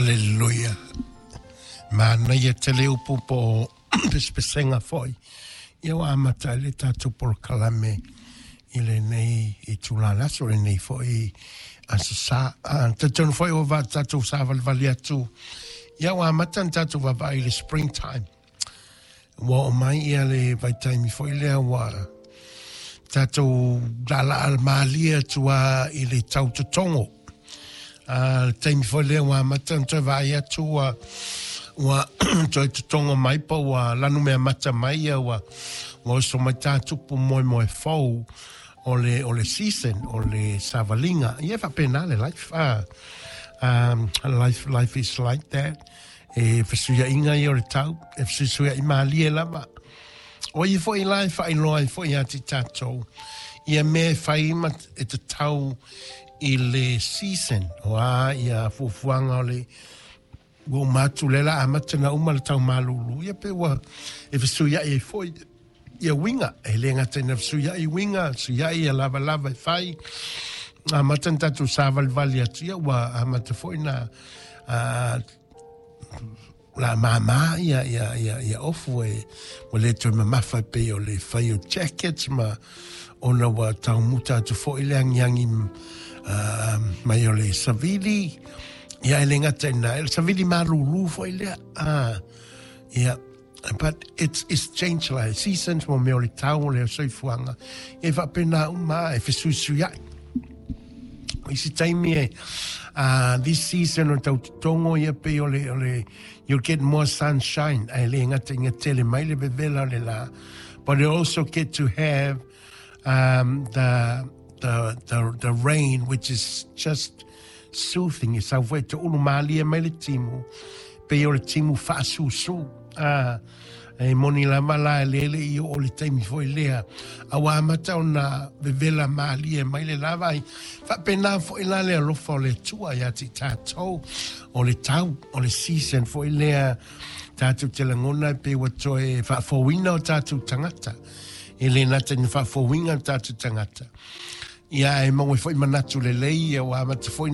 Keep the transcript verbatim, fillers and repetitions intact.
Hallelujah. Manaia tele upu po o pesepesega foi. Ia ua amata ai le tatou polokalame i lenei itula o le aso, lenei foi Aso Sa. Talitonu foi ua va tatou savalivali atu. Ia ua amata ona tatou vaavaai i le springtime. Ua oo mai ia le vaitaimi foi lea ua tatou laalaa malie atu lava i le tautotogo. A le taimi foi lea ua amata ona toe vaai atu ua ua toe totogo mai po ua lanumeamata mai ia ua ua oso mai tatupu moemoe fou o le o le season o le savaliga. Ia e faapena le life. Ah, um, life life is like that. E fesuiaiga ia o le tau, e fesuisuiai malie lava. O ia foi la e faailoa ai foi ia te tatou ia mea e fai ma e tatau i le season o a ia fuafuaga o le ua uma atu lea la amata na uma le tau malulu ia pe ua e fesuiai ai foi ia uiga e le gata ina fesuiai uiga fesuiai ia lavalava e fai amata na tatou savalivali atu ia ua amata foi na uh, la māmā ia, ia, ia, ia ofu e ua le toe mamafa e pei o le fai o jackets ma ona ua taumuta atu foi le agiagi uh, mai o le savili ia e le gata ina e le savili malūlū foi lea ah, ia but it's, it's changed like seasons mo mea o le tau o le soifuaga e faapena uma e fesuisuiai isi taimi e uh, this season o tau totogo ia pei o le, o le you'll get more sunshine ae le gata ina tele mai le vevela o le la but you also get to have um, the, the, the, the rain which is just soothing e sau foi toulu malie mai le timu pei o le timu faasusu ah, e moni lava la e lele i o le taimi foi lea a ua amata ona vevela malie mai le lava ai faapena foi la le alofa o le Atua ia te tatou o le tau o le season foi lea tatou te lagona e pei ua toe faafouina o tatou tagata e le gata ina faafouina o tatou tagata ia e maua foi manatu lelei ia ua amata foi